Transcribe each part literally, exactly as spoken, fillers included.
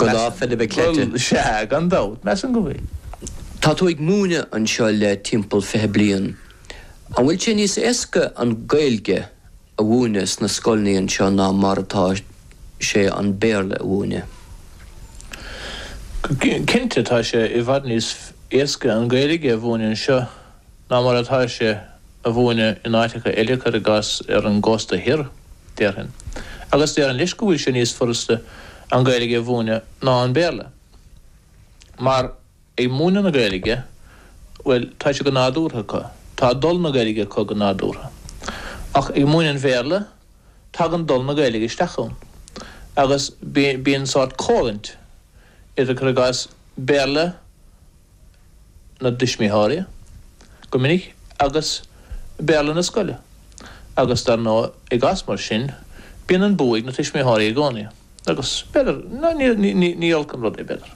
Go lá Féile Cleite. Sea, gan dabht, measaim go bhfuil. Tá tú ag múineadh anseo le timpeall fiche bliain. An bhfuil sé níos éasca an Ghaeilge a mhúineadh sna scoileanna anseo ná mar atá sé an Béarla a mhúineadh? Cinnte tá sé i bhfad níos éasca an Ghaeilge a mhúineadh anseo ná mar atá sé a mhúineadh in áiteacha eile cuir i gcás ar an gcósta thiar, déarfainn. Agus déarfainn leis go bhfuil sé níos furasta an Ghaeilge a mhúineadh ná an Béarla. Mar ag múineadh na Gaeilge, bhuel, tá sé go nádúrtha acu. Tá dul na Gaeilge acu go nádúrtha. Ach ag múineadh an Bhéarla, tagann dul na Gaeilge isteach ann. Agus bíonn sórt comhroinnt idir cuir i gcás Béarla na dtuismitheoirí, go minic, agus Béarla na scoile. Agus dar ndóigh, i gcás mar sin, bíonn an bua ag na tuismitheoirí i gcónaí. Agus b'fhéidir, ní, ní, ní olc an rud é, b'fhéidir.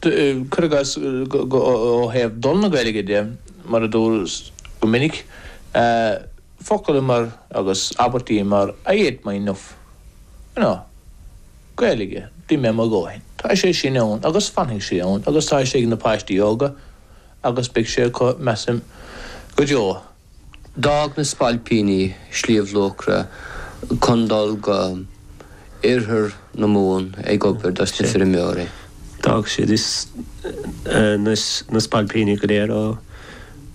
Cuir i gcás, ó thaobh dul na Gaeilge de, mar a dúras go minic, focail mar, agus abairtí mar I ate my enough, you know, Gaeilge, d'ith mé mo dhóthain. Tá sé sin ann agus fanfaidh sé ann agus tá sé ag na páistí óga agus beidh sé acu, measaim, go deo. D'fhág na spailpíní Sliabh Luachra chun dul go oirthear na Mumhan ag obair dos na feirmeoirí. D'fhág siad is na spailpíní go léir ó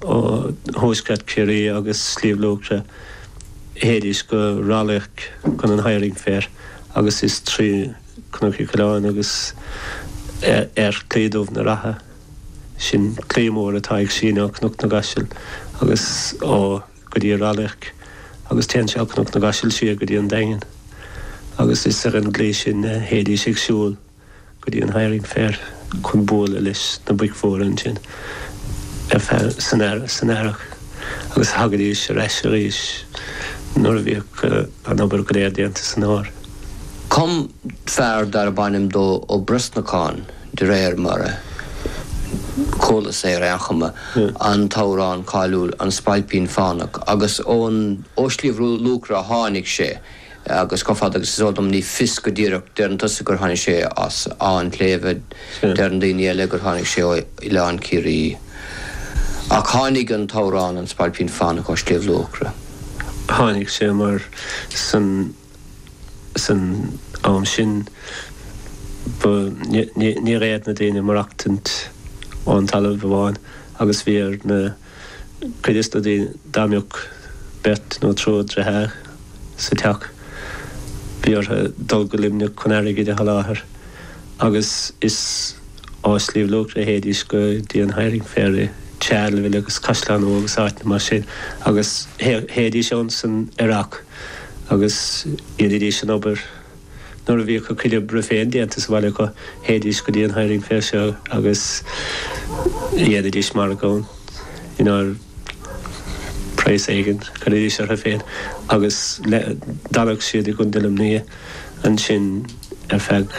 thuaisceart Chiarraí agus Sliabh Luachra théidís go Rath Caoch chun an Hiring Fair agus is trí Chnoc Uí Choileáin agus ar Chlaí Dubh na Rátha, sin claí mór atá ag síneadh ó Chnoc na gCaiseal agus ó go dtí Ráth Luirc agus téann sé ó Chnoc na gCaiseal siar go dtí an Daingean agus is ar an gclaí sin a théidís ag siúl go dtí an Hiring Fair chun bualadh leis na boic mhóra ansin ar feadh san earrach agus thagaidís ar ais arís nuair a bhíodh an obair go léir déanta san fhómhar. Chum fear darb ainm dó Ó Brosnacháin, de réir mar a chualas é ar aon chuma, an t-amhrán cáiliúil An Spailpín Fánach agus ón ó Shliabh Luachra a tháinig sé agus chomh fada agus is eol dom ní fios go díreach, deireann tusa gur tháinig sé as Áth an tSléibhe, deireann daoine eile gur tháinig sé ó Oileán Ciarraí. Ach tháinig an t-amhrán An Spailpín Fánach ó Shliabh Luachra. Tháinig sé mar san san am sin ba ní fhéad na daoine maireachtaint ón talamh amháin agus bhí ar na cuid de na daoine dá mbeadh beirt nó triúr deartháir sa teach bhí orthu dul go Luimneach chun airgid a sholáthar agus is ó Shliabh Luachra a théidís go dtí an Hiring Fair i Charleville agus Caisleán Nua agus áiteanna mar sin agus théidís ann san earrach agus dhéanaidís an obair. Nuair a bhíodh a gcuid oibre féin déanta sa bhaile acu, théidís go dtí an Hiring Fair seo agus dhéanaidís margadh ann, you know, praghas éigin, chuiridís orthu féin agus d'fhanadh siad i gContae Luimnigh ansin ar feadh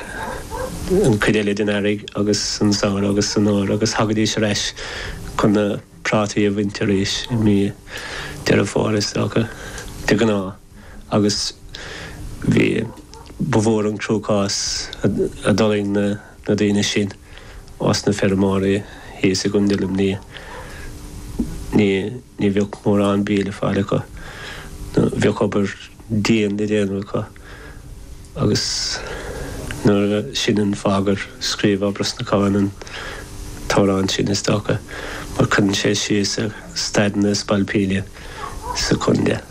an chuid eile den earraigh agus an samhradh agus san fhómhar agus thagaidís ar ais chun na prátaí a bhaint arís i mí Deireadh Fómhair is dócha, de ghnáth. Agus bhí, ba mhór an cruachás a d'fhulaing na daoine sin ós na feirmeoirí thíos i gContae Luimnigh. Ní, ní bheadh mórán bídh le fáil acu, nó bheadh obair dian le déanamh acu. Agus nuair a, sin an fáth gur scríobh Ó Brosnacháin an t-amhrán sin, is dócha, mar cuireann sé síos ar staid na spailpíní sa chontae.